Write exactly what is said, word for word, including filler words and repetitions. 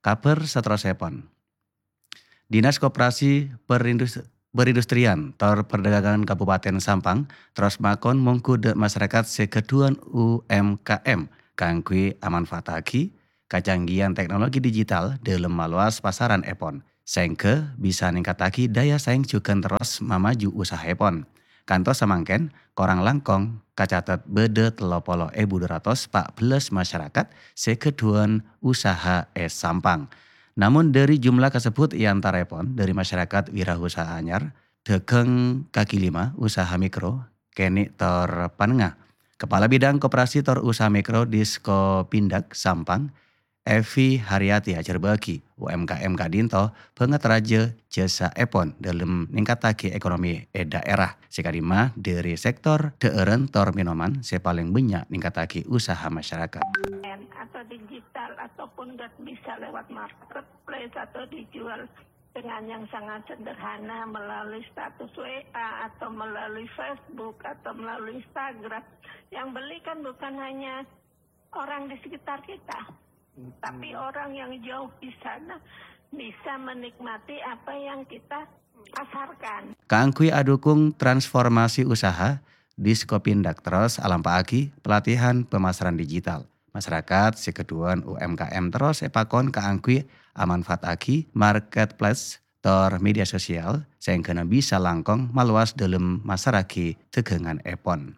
Kabhâr saterrossèpon. Dinas Koperasi Perindus-, Perindustrian tor Perdagangan Kabupaten Sampang terros makon mongghu dâ' masyarakat sè ghâdhuwân U M K M kaangghuy amanfaataghi kacanggihan teknologi digital dâlem malowas pasaran èpon, saèngghâ bisa ningkattaghi daya saèng jhughân terros mamaju usahaèpon. Kantos samangkèn, korang langkong kacatet bâdâ tello polo èbu dua ratos pa' bellâs masyarakat sè ghâdhuwân usaha è Sampang. Namong dâri jumlah kasebbhut è antaraèpon dâri masyarakat wirausaha anyar, dhâghâng kaki lima, usaha mikro, kènè' tor panengnga. Kepala Bidang Koperasi tor Usaha Mikro Diskopindag Sampang, Evi Haryati ajhârbâ'âghi, U M K M ka'dinto bângèt rajâ jhâsa'èpon dâlem ningkattaghi ekonomi è dhaèra, sè kadimma dâri sektor dhâ'ârân tor mènoman sè palèng bânnya' ningkattaghi usaha masyarakat. Atau digital ataupun nggak bisa lewat marketplace atau dijual dengan yang sangat sederhana melalui status W A atau melalui Facebook atau melalui Instagram. Yang beli kan bukan hanya orang di sekitar kita, tapi orang yang jauh di sana bisa menikmati apa yang kita pasarkan. Kaangghuy adhukung transformasi usaha, Diskopindag terros alampa'aghi pelatihan pemasaran digital. Masyarakat sè ghâdhuwân U M K M terros èpakon kaangghuy amanfaataghi marketplace tor media sosial saèngghâna bisa langkong malowas dâlem masarraghi dhâghângan èpon.